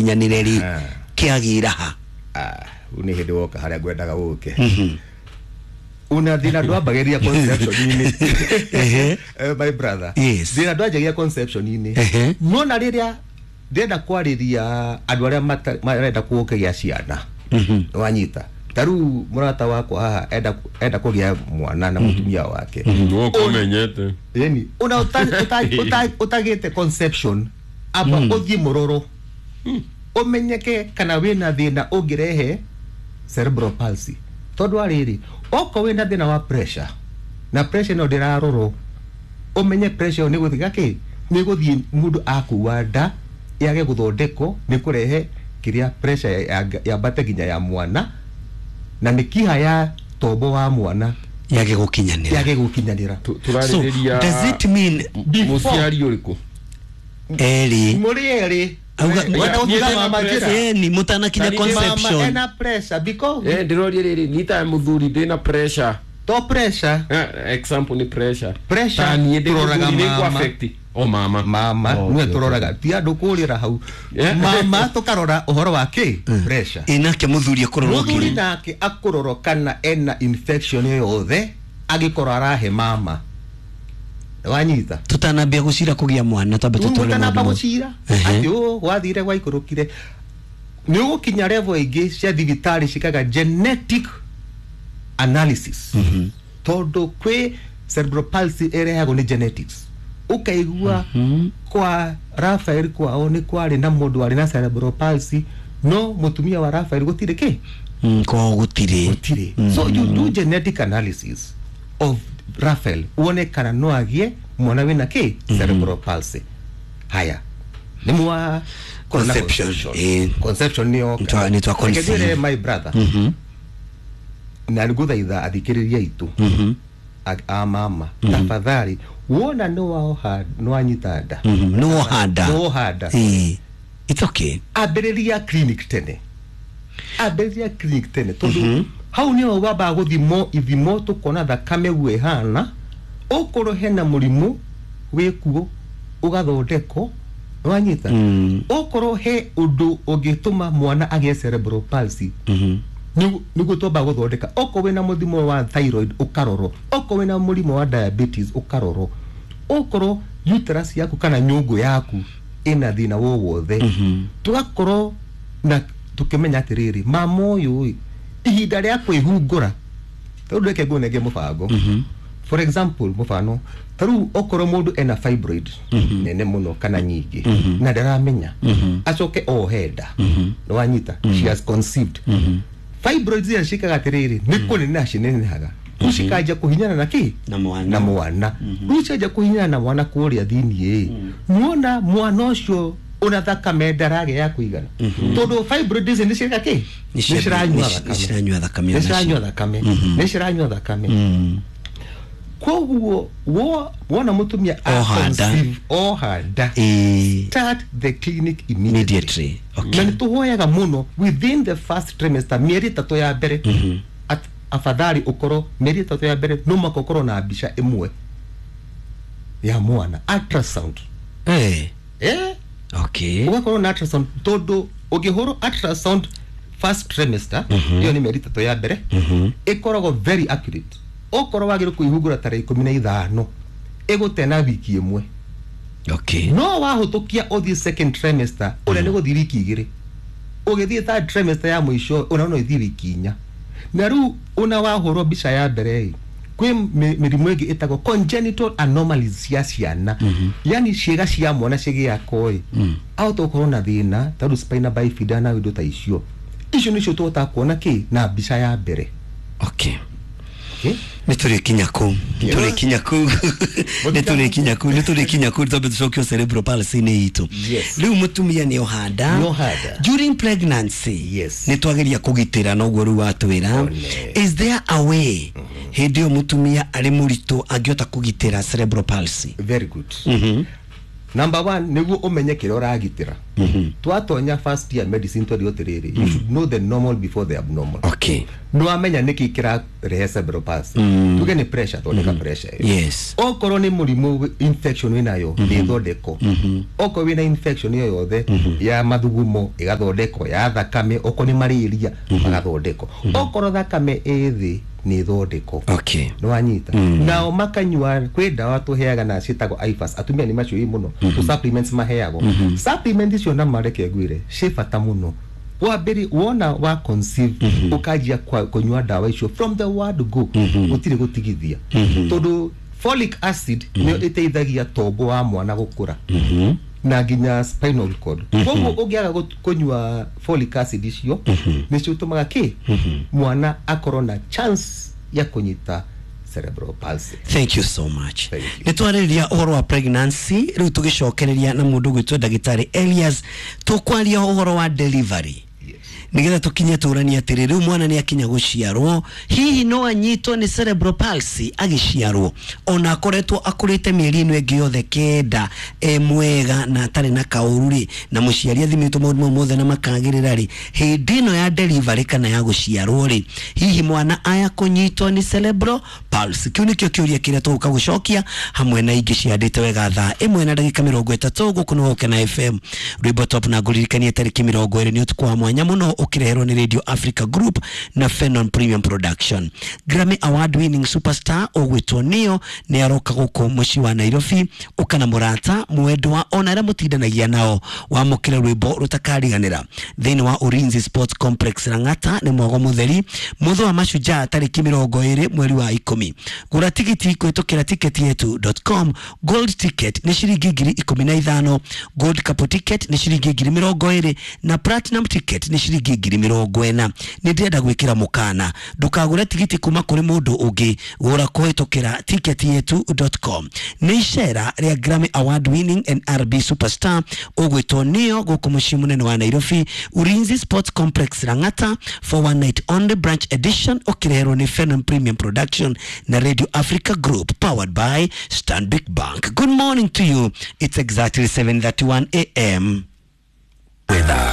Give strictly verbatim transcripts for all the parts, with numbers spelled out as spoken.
Gĩkinyanĩre rĩ, Ah. kĩagĩra ha? Ah, rĩu nĩ hĩndĩ woka harĩa ngwendaga gũke. Una thĩna ndwambagĩrĩria conception-inĩ. Ehe. Eh, my brother, Yes. thĩna ndwanjagia conception-inĩ. Ehe. Nona rĩrĩa ndĩrenda kwarĩria andũ arĩa mata- marenda kũgĩa ciana, wanyita, ta rĩu mũrata wakwa haha enda enda kũgĩa mwana na mũtumia wake. Woka ũmenyete. Yani una uta- uta- uta- utagĩte conception, amba ũthiĩ mũroro ũmenyeke kana wĩna thĩna ũngĩrehe cerebral palsy, tondũ arĩrĩ okorwo wĩna thĩna wa pressure na pressure ĩno ndĩrarorwo, ũmenye pressure ĩyo nĩ gũthiĩ gakĩ, nĩ gũthiĩ mũndũ akua nda yage gũthondekwo, nĩ kũrehe kĩrĩa pressure ya- yambate nginya ya mwana na mĩkiha ya tombo wa mwana yage gũkinyanĩra. Yage gũkinyanĩra. Tu- So tũrarĩrĩria does it mean mũciari ũrĩkũ? Erĩ. Mũrĩ erĩ. Auga- Wenda Niĩ gũtiga ndĩna mama njĩra. pressure. Ĩni mũtanakinya Na nĩ Mama conception. ena pressure because Eh, ndĩroria rĩrĩ, nita mũthuri ndĩna pressure. To pressure. Eh, example nĩ pressure. Pressure, Ta niĩ ndĩ tũroraga mũthuri nĩ mama. ngũ-affect. O mama. Mama. Oh, nĩwe okay, tũroraga, ti andũ kũrĩra hau. Yeah. Mama tũkarora ũhoro wa kĩ pressure. Ĩ nake mũthuri akũrorwo? Mũthuri kĩ? nake akũrorwo kana ena infection yothe angĩkorwo arahe mama, wanyita? Tũtanambia gũcira kũgĩa mwana, twambe tũtware Mũtanamba maũndũ mothe. gũcira Ehe. atĩ ũ gwathire gwaikũrũkire, nĩ ũgũkinya level ingĩ cia thibitarĩ cikaga genetic analysis, tondũ kwĩ cerebral palsy ĩrehagwo nĩ genetics. Ũkaigua kwa Rafael kwao nĩ kwarĩ na mũndũ warĩ na cerebral palsy, no mũtumia wa Rafael gũtirĩ kĩ. Mm, kwao gũtirĩ. Gũtirĩ. So you do genetic analysis of Rafael wone kana no agĩe mwana wĩna kĩ cerebral palsy. Haya, nĩ mwa Conception, eh. Conception nĩ yoka. Nĩtwa- nĩtwa Reke ngwĩre, conceive. my brother, na nĩngũthaitha athikĩrĩria aitũ a- a mama, tafadhali, wona nĩ waoha, nĩ wanyita nda, Mhm, nĩ woha nda. Nĩ woha nda, Ĩ, it's okay. ambĩrĩria clinic tene, ambĩrĩria clinic tene, tondũ hau nĩho wambaga gũthimwo ithimo, tũkona thakame guo ĩhana, ũkorwo hena mũrimũ wĩkuo ũgathondekwo, wanyita? Mm. Okorwo he ũndũ ũngĩtũma mwana agĩe cerebral palsy, nĩgu- nĩguo twambaga gũthondeka. Okorwo wĩna mũrimũ wa thyroid ũkarorwo, okorwo wĩna mũrimũ wa diabetes ũkarorwo, okorwo uterus yaku kana nyũngũ yaku ĩna thĩna wo wothe, tũgakorwo na tũkĩmenya atĩrĩrĩ, mama ũyũ ĩ ihinda rĩa kwĩhungũra, tondũ reke ngũnenge mũbango, for example, mũbano ta rĩu okorwo mũndũ ena fibroid nene mũno kana nyingĩ na ndaramenya, acoke ohe nda, nĩwanyita, she has conceived, fibroids iria ciĩkaga atĩrĩrĩ, nĩ kũneneha cinenehaga, rĩu cikanjia kũhinyana na kĩ? Na mwana. Na mwana. Rĩu cianjia kũhinyana na mwana kũrĩa thĩiniĩ, nĩwona mwana ũcio ona thakame ndaragĩa ya kũigana, tondũ fibroids ici nĩ ciĩka kĩ? Nĩ cia- Nĩ ciranyua nĩ ci- thakame. nĩ ciranyua thakame Nĩ onacio. ciranyua thakame, nĩ ciranyua thakame. Koguo wo- wona mũtumia Oha nda. a-conceive, oha nda, Ĩ, start the clinic immediately. Immediately, okay. Na nĩ tũhoyaga mũno within the first trimester, mĩeri ĩtatũ ya mbere. At- afadhali ũkorwo mĩeri ĩtatũ ya mbere no mũhaka ũkorwo na mbica ĩmwe ya mwana, ultrasound. Eh, eh okay. Ũgakorwo na ultrasound, tondũ ũngĩhũrwo ultrasound first trimester, ĩyo nĩ mĩeri ĩtatũ ya mbere, ĩkoragwo very accurate. Okorwo wagĩrĩirwo kwĩhungũra tarĩki ikũmi na ithano, ĩgũte na wiki ĩmwe. Okay. No wahũtũkia ũthiĩ second trimester, ũrĩa nĩ gũthiĩ wiki igĩrĩ, ũgĩthiĩ third trimester ya mũico, ũna no ĩthiĩ wiki inya. Na rĩu ona wahũrwo mbica ya mbere ĩ, kwĩ mĩ- mĩrimũ ĩngĩ ĩtagwo congenital anomalies cia ciana, yani ciĩga cia mwana cigĩakwo ĩ, ahota gũkorwo na thĩna ta rĩu spina bifida na indo ta icio. Icio nĩcio tũhotaga kuona kĩ na mbica ya mbere. Okay. Okay? Nä tå rä kinya kå nä tå rä kinya kå nä tå rä kinya kå nä tå rä kinya kå twambe tå cokio cerebral palsy nä itå. Yes. Rä u må tumia nä ohanda. Nĩ ohanda. During pregnancy, Yes. nä twageria kå gitä ra noguo rä u watwä ra. One. Is there a way hä ndä ä yo må tumia arä må ritå angĩhota kå gitä ra cerebral palsy? Very good. Number one, nĩguo ũmenye kĩrĩa ũragitĩra. Twatonya first year medicine twerirwo atĩrĩrĩ, you should know the normal before the abnormal. Okay. Nĩwamenya nĩkĩ kĩrarehe cerebral palsy, tuge nĩ pressure, thondeka pressure ĩyo. Yes. Okorwo nĩ mũrimũ wĩ- infection wĩnayo, nĩ ĩthondekwo. Okorwo wĩna infection ĩyo yothe ya mathugumo, ĩgathondekwo, ya thakame, okorwo nĩ malaria, magathondekwo. Okorwo thakame ĩ thĩ, nĩ ĩthondekwo. Okay. Nĩwanyita? Nao makanyua, kwĩ ndawa tũheaga na ciĩtagwo IFAS, atumia nĩ maciũĩ mũno, tũ supplements maheagwo. Supplement icio, na mareke ngwĩre, ciĩ bata mũno. Wambere, wona wa conceive, ũkanjia kwa- kũnyua ndawa icio from the word go, gũtirĩ gũtigithia, tondũ folic acid nĩyo ĩteithagia tombo wa mwana gũkũra na nginya spinal cord. Koguo ũngĩaga gũt- kũnyua folic acid icio, nĩcio ũtũmaga kĩ mwana akorwo na chance ya kũnyita cerebral palsy. Thank you so much. Thank you. Nä twarä å horo wa pregnancy, rä u tå gä cokereria na må ndå gwä two ndagätarä Elias, tå kwaria å horo wa delivery Yes. nä getha tå kinye tå ranie atä rä rä u mwana nä akinya gå ciarwo, hihi no anyitwo nä cerebral palsy agĩciarwo ona akoretwo akũrĩte mĩeri ĩno ĩngĩ yothe kenda e mwega na atarĩ na kaũru rĩ, na mũciari athimĩtwo maũndũ mau mothe na makagĩrĩra rĩ, hĩndĩ ĩno ya delivery kana ya gũciarwo rĩ, hihi mwana aya kũnyitwo nĩ cerebral palsy? Kĩu nĩkĩo kĩũria kĩrĩa tũgũka gũcokia hamwe na ingĩ ciandĩte wega thaa ĩmwe na ndagĩka mĩrongo ĩtatũ. Gũkũ nĩ Gũkena F M, rwĩmbo top, na ngũririkanie tarĩki mĩrongo ĩrĩ nĩ ũtukũ wa mwanya mũno ũkĩreherwo nĩ Radio Africa Group na Fenon Premium Production. Grammy Award winning superstar ũgwĩtwo Neo nĩ aroka gũkũ mũciĩ wa Nairobi. Ũka na mũrata, mwendwa, ona arĩa mũtindanagia nao, wamũkĩre rwĩmbo rũtakariganĩra thĩinĩ wa Ulinzi Sports Complex, Lang'ata, nĩ mwago mũtheri mũthũ wa mashujaa tarĩki mĩrongo ĩrĩ mweri wa ikũmi. Gũra tigiti kũhĩtũkĩra ticket yetu dot com. Gold ticket nĩ ciringi ngiri ikũmi na ithano, gold couple ticket nĩ ciringi ngiri mĩrongo ĩrĩ, na platinum ticket nĩ ciringi ngiri mĩrongo ĩna. Nĩ ndĩrenda gwĩkĩra mũkana, ndũkagũre tigiti kuma kũrĩ mũndũ ũngĩ, gũra kũhĩtũkĩra ticket yetu dot com. Nĩ icera rĩa Grammy Award winning and R and B superstar ũgwĩtwo Neo gũkũ mũciĩ mũnene wa Nairobi, Ulinzi Sports Complex, Lang'ata, for one night only branch edition, ũkĩreherwo nĩ Fenon Premium Production na Radio Africa Group, powered by Stanbic Bank. Good morning to you. It's exactly seven thirty-one a m. Weather.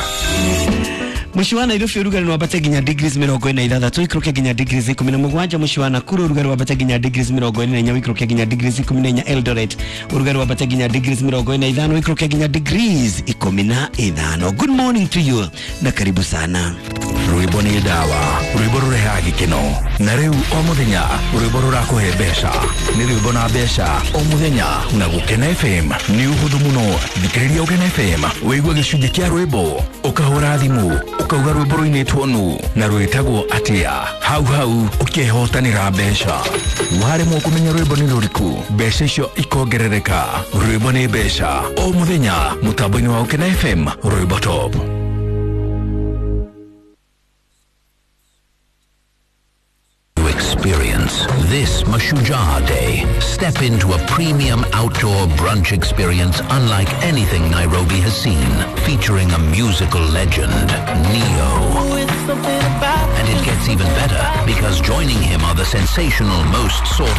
Mũciĩ wa Nairobi ũrugarĩ wambate nginya degrees mĩrongo ĩna ithathatũ, ikũrũke nginya degrees ikũmi na mũgwanja. Mũciĩ wa Nakuru ũrugarĩ wambate nginya degrees mĩrongo ĩna na inya, ũikũrũke nginya degrees ikũmi na inya. Eldoret ũrugarĩ wambate nginya degrees mĩrongo ĩna ithano, ũikũrũke nginya degrees ikũmi na ithano. Good morning to you na karibu sana. Rwĩmbo nĩ ndawa, rwĩmbo rũrehaga gĩkeno, na rĩu o mũthenya rwĩmbo rũrakũhe mbeca. Nĩ rwĩmbo na mbeca o mũthenya na Gũkena F M. Nĩ ũhũthũ mũno, thikĩrĩria Gũkena F M, wĩigue gĩcunjĩ kĩa rwĩmbo, ũkahũra thimũ ũkauga rwĩmbo rũinĩtwo nũ na rwĩtagwo atĩa, hau hau ũkehotanĩra mbeca. Waremwo kũmenya rwĩmbo nĩ rũrĩkũ, mbeca icio ikongerereka. Rwĩmbo nĩ mbeca o mũthenya mũtambo-inĩ wa Gũkena F M, rwĩmbo top. To experience this Mashujaa Day. Step into a premium outdoor brunch experience unlike anything Nairobi has seen, featuring a musical legend, Neo. And it gets even better because joining him are the sensational most sought